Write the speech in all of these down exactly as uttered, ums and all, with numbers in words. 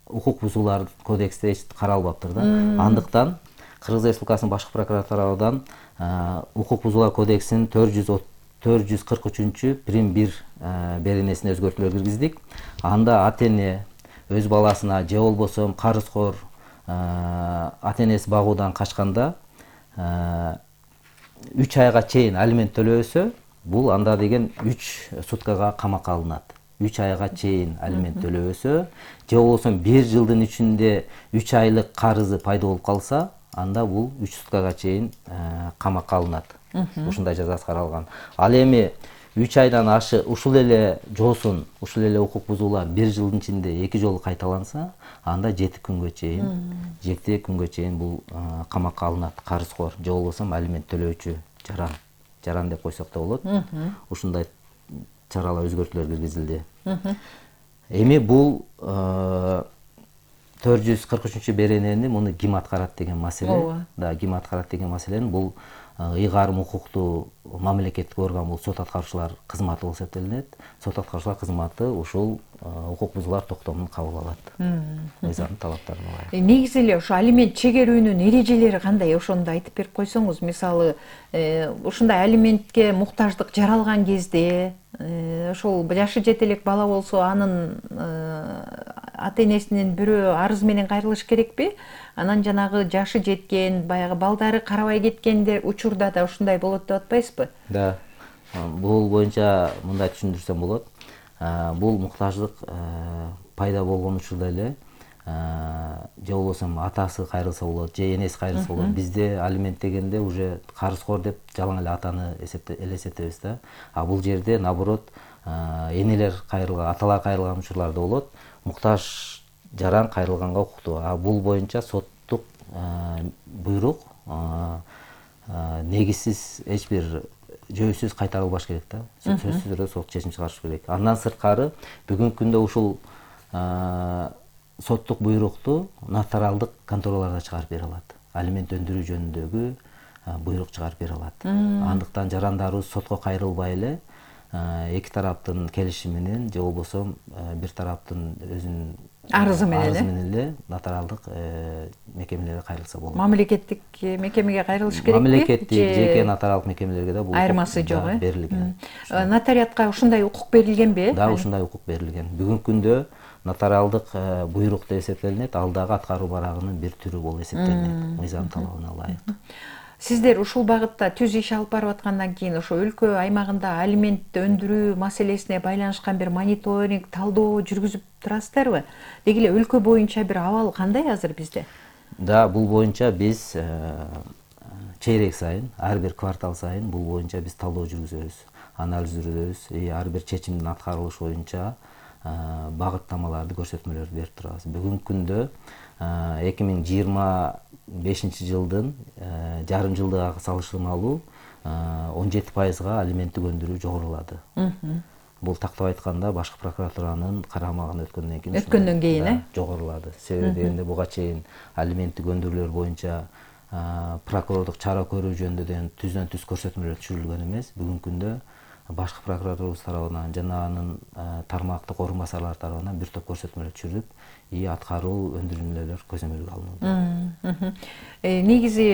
укук бузуулар кодексте эч каралбаптыр да. Андыктан Кыргыз Республикасынын башкы прокуратурадан укук бузуулар кодексинин төрт жүз кырк үчүнчү прим бир беренесине өзгөртүүлөр киргиздик. Анда ата эне өз баласына же болбосо карызкор ата энеси багуудан качканда үч айга чейин алимент төлөбөсө, бул анда деген үч суткага камакка алынат. үч айга чейин алимент төлөбөсө, же болбосо бир жылдын ичинде үч айлык карызы пайда болуп калса, анда бул үч суткага чейин камакка алынат. Ушундай жазасы каралган. Ал эми үч айдан ашы ушул эле жоосун, ушул эле укук бузуулар бир жылдын ичинде эки жолу кайталанса, анда жети күнгө чейин, жети күнгө чейин бул камакка алынат карызкор, же болбосо алимент төлөөчү жаран. Жаран деп койсок да болот. Ушундай чаралар өзгөртүүлөр киргизилди. Эми бул төрт жүз кырк үчүнчү беренени муну ким аткарат деген маселе. Да, ким аткарат деген маселени бул ыйгарым укуктуу мамлекеттик орган, бул сот аткаруучулар кызматы болуп эсептелинет. Сот аткаруучулар кызматы ушул укук бузуулар токтомун кабыл алат. Мыйзамдын талаптарына ылайык. Негизи эле ошо алимент чегерүүнүн эрежелери кандай? Ошондо айтып берип койсоңуз, мисалы, ушундай алиментке муктаждык жаралган кезде, ошол жашы жете элек бала болсо, анын ата энесинин бирөө арыз менен кайрылыш керекпи? Анан жанагы жашы жеткен, баягы балдары карабай кеткендер учурда да ушундай болот деп атпайсызбы? Да. Бул боюнча мындай түшүндүрсөм болот. Бул муктаждык пайда болгон учурда эле же болбосо атасы кайрылса болот, же энеси кайрылса болот. Бизде алимент дегенде уже карызкор деп жалаң эле атаны элестетебиз да. А бул жерде наоборот энелер кайрылган, аталар кайрылган учурларда болот. Муктаж жаран кайрылганга укуктуу. А бул боюнча соттук буйрук негизсиз эч бир жөөсүз кайтарылбаш керек да. Сөзсүз түрдө сот чечим чыгарыш керек. Андан сырткары бүгүнкү күндө ушул соттук буйрукту нотариалдык контораларда чыгарып бере алат. Алимент өндүрүү жөнүндөгү буйрук чыгарып бере алат. Андыктан жарандарыбыз сотко кайрылбай эле эки тараптын келишими менен же болбосо бир тараптын өзүнүн арызы менен эле нотариалдык мекемелерге кайрылса болот. Мамлекеттик мекемеге кайрылыш керекпи? Мамлекеттик жеке нотариалдык мекемелерге да бул айырмасы жок, э? Берилген. Нотариатка ушундай укук берилгенби? Да, ушундай укук берилген. Бүгүнкү күндө нотариалдык буйрук деп эсептелинет, ал дагы аткаруу барагынын бир түрү болуп эсептелинет, мыйзам талабына ылайык. Сиздер ушул багытта түз иш алып барып аткандан кийин ошо өлкө аймагында алимент өндүрүү маселесине байланышкан бир мониторинг, талдоо жүргүзүп турасыздарбы? Деги эле өлкө боюнча бир абал кандай азыр бизде? Да, бул боюнча биз чейрек сайын, ар бир квартал сайын бул боюнча биз талдоо жүргүзөбүз, анализ жүргүзөбүз, ар бир чечимдин аткарылышы боюнча багыттамаларды, көрсөтмөлөрдү берип турабыз. Бүгүнкү күндө эки миң жыйырма бешинчи жылдын жарым жылдыгы салыштырмалуу он жети пайызга алименттик өндүрүү жогорулады. Бул тактап айтканда башкы прокуратуранын карамагына өткөндөн кийин өткөндөн кийин э жогорулады. Себеби дегенде буга чейин алименттик өндүрүүлөр боюнча прокурордук чара көрүү жөнүндө деген түздөн түз көрсөтмөлөр түшүрүлгөн эмес. Бүгүнкү күндө башкы прокуратурабыз тарабынан жана анын тармактык орун басарлары тарабынан бир топ көрсөтмөлөр түшүрүп, и аткаруу өндүрүүлөр көзөмөлгө алынууда. Негизи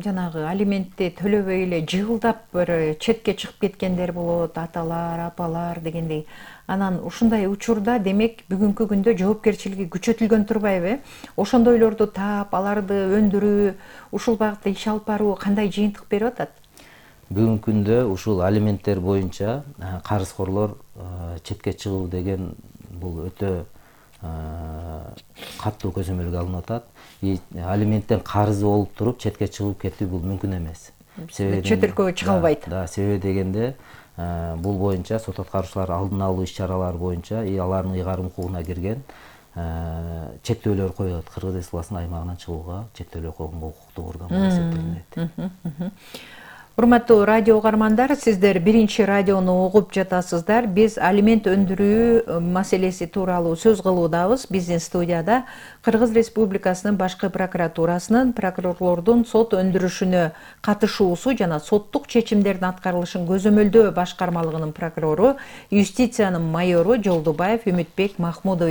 жанагы алиментти төлөбөй эле жыгылдап бир четке чыгып кеткендер болот, аталар, апалар дегендей. Анан ушундай учурда демек бүгүнкү күндө жоопкерчилиги күчөтүлгөн турбайбы? Ошондойлорду таап, аларды өндүрүү, ушул багытта иш алып баруу кандай жыйынтык берип атат? Бүгүнкү күндө ушул алименттер боюнча карызкорлор четке чыгуу деген бул өтө катуу көзөмөлгө алынып атат. И алименттен карызы болуп туруп четке чыгып кетүү бул мүмкүн эмес. Чет өлкөгө чыга албайт. Да, себеби дегенде бул боюнча сот аткаруучулар алдын алуу иш-чаралары боюнча и алардын ыйгарым укугуна кирген чектөөлөр коюлат. Кыргыз Республикасынын аймагынан чыгууга чектөөлөр койгонго укуктуу орган болуп эсептелинет. Урматтуу радио угармандар, сиздер биринчи радиону угуп жатасыздар. Биз алимент өндүрүү маселеси тууралуу сөз кылуудабыз. Биздин студияда Кыргыз Республикасынын башкы прокуратурасынын прокурорлордун сот өндүрүшүнө катышуусу жана соттук чечимдердин аткарылышын көзөмөлдөө башкармалыгынын прокурору, юстициянын майору Жолдубаев Үмүтбек Махмудович